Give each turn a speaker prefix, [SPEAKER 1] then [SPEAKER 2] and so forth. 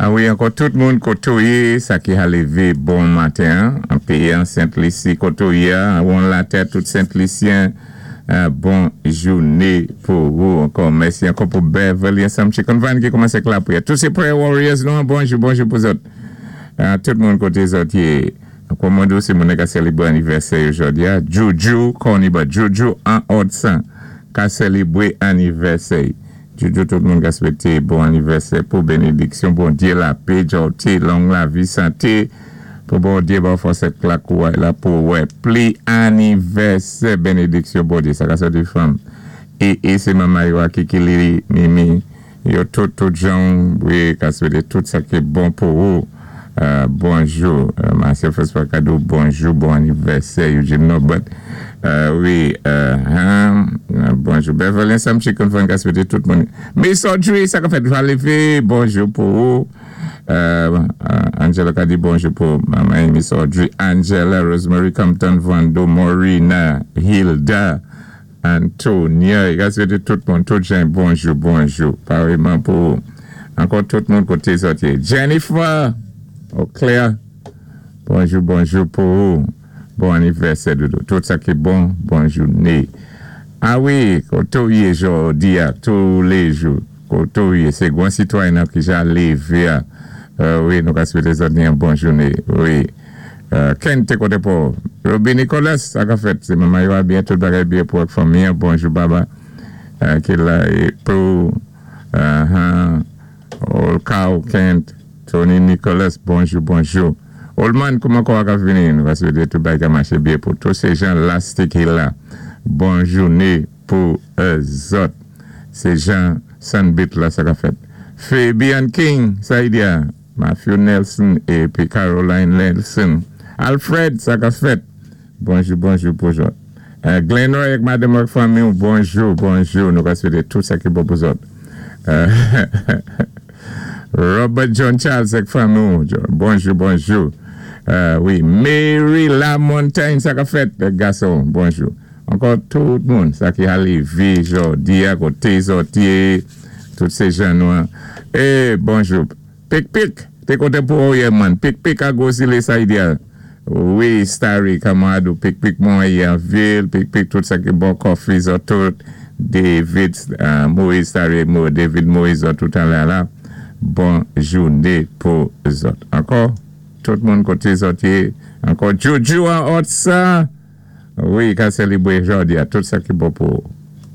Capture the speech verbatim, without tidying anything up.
[SPEAKER 1] A wi, ankò tout moun koto yé, sa ki a lévé bon maten, an péyi an Sent Lisi koto yé, an latè tout Sent-Lisyen, bon jouné pou wou. Ankò mèsi ankò pou Beverly ansanm Chicken Van ki koumansé ak lapriyè. Tout sé prayer warriors nou, bonjou, bonjou pou zòt. Tout moun koté zòt yé. Ankò mwen sé moun ka sélébwé anivèsè jòdi a. Juju, Koniba, Juju an Odsan, ka sélébwé anivèsè. Juju, tout moun ka swété bon anivèsè pou bénédiksyon, Bondyé lapè, jòté, long lavi, santé, pou Bondyé ba fòs ak lakouway la pou wè pli anivèsè, bénédiksyon Bondyé, sa ka sòti fanm. É, é sé manman yo a Kiki Lili, Mimi, yo tout, tout jan, wi, ka swété tout sa ki bon pou ou. Euh, bonjou, euh, Marcel François Cadeau, bonjou, bon anivèsè, Eugene Norbert. Euh, wi, euh, hein, bonjou, Beverly Sam Chicken Fan ka swété tout moun. Miss Audrey, sa ka fèt lévé, bonjou pou ou. Euh, Angela ka di bonjou pou manman Miss Audrey, Angela, Rosemary Compton, Vando, Maureen, Hilda, Antonia, ka swété tout moun, tout jan, bonjou, bonjou, pareillement pou ankò tout moun koté zòt yé. Jennifer, oh Claire, bonjou, bonjou pou ou. Bon anivèsè, doudou. Tout sa ki bon, bon jouné. A wi, koto yé jòdi a, tous les jours. Koto yé, sé gwan sitwayen ki ja lévé a. Euh, wi, nou ka swété zòt yon bon jouné. Wi. Euh, Ken té koté pou. Roby Nicolas, sa ka fèt. Sé manman yo a byen, tout bagay byen pou fanmi. Bonjou, baba. Euh, ki la é pou uh, Olkao Kent, Tony Nicolas, bonjou, bonjou. Olman, kouman kwa ka vini? Nou va swété tout bagay maché byen pou tous sé jan lastik ki la. Bon jouné pou zòt. Sé jan Sunbit la sa ka fèt. Fabian King, sa y di a. Matthew Nelson épi Caroline Nelson. Alfred, sa ka fèt. Bonjou, bonjou pou zòt. Euh, Glenroy ak madanm ak fanmi, bonjou, bonjou. Nou ka swété tout sa ki bon pou zòt. Euh, Robert John Charles ak fanmi, bonjou, bonjou. Euh, wi, Mary Lamontagne, sa ka fèt, gason, bonjou. Ankò tout moun, sa ki a lévé jòdi a, koté zòt yé, tout sé jan nou. É, bonjou. Pik pik, té koté pou ou man. Pik pik a Gosile sa y di a. Wi, Starry, Kamado, pik pik mwen an vil, pik pik tout sa ki bon coffee zòt tout. David, euh, Moïse Starry, David Moïse zòt tout an la la. Bon jouné pou zòt. Ankò, tout moun koté zòt yé. Ankò, Juju an ot sa. Wi, ka sélébwé jòdi a, tout sa ki bon pou